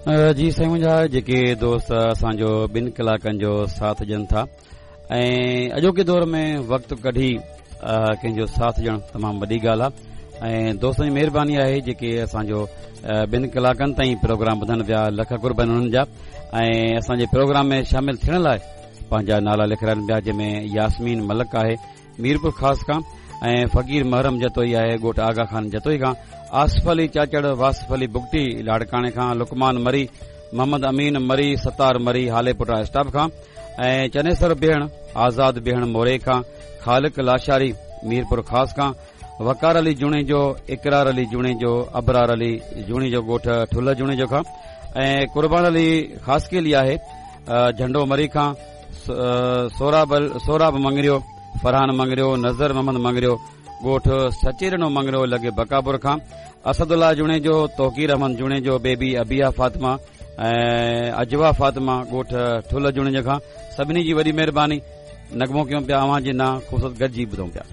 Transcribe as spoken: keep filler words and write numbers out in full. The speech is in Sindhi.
جي سائين منهنجا جيڪي دوست اسان جو ٻن ڪلاڪن جو ساٿ ڏين ٿا ۽ اڄوڪي دور ۾ وقت ڪڍي ڪنهن جو ساٿ ڏيڻ تمام وڏي ڳالهه آهي ۽ دوستن جي مهرباني آهي جيڪي اسان جو ٻن ڪلاڪن تائين پروگرام ٻڌن پيا، لک قرب انهن جا ۽ اسان جي پروگرام ۾ شامل ٿيڻ لاء پنهنجا نالا لکرائن پيا، جنهن ۾ ياسمين ملڪ آهي ميرپور خاص کان ۽ فقير محرم جتوئي آهي ڳوٺ آغا خان جتوئي کان، آصف علي چاچڙ، واصف علي بگٽي لاڙڪاڻي کان، لقمان مري، محمد امين مري، ستار مري هاليپوٽا اسٽاپ کان ۽ چنيسر بيهڻ، آزاد بيهڻ موري کان، خالق لاشاري ميرپور خاص کان، وقار علي جوڻيجو، اقرار علي جوڻيجو، ابرار علي جوڻيجو ڳوٺ ٺلهه جوڻيجو کان ۽ قربان علي خاصخيلي آهي جهنڊو مري کان، سوراب سوراب مڱريو، فرحان مڱريو، نظر محمد مڱريو ڳوٺ سچيڏنو مڱريو لڳي بڪاپور کان، اسد الله جوڻيجو، توقير احمد جوڻيجو، بيبي ابيا فاطمه ۽ اجوا فاطمه ڳوٺ ٺلهه جوڻيجو کان، سڀني جي وڏي مهرباني. نغمو ڪيون پيا اوهان جي نان خوبصورت گڏجي ٻڌون پيا.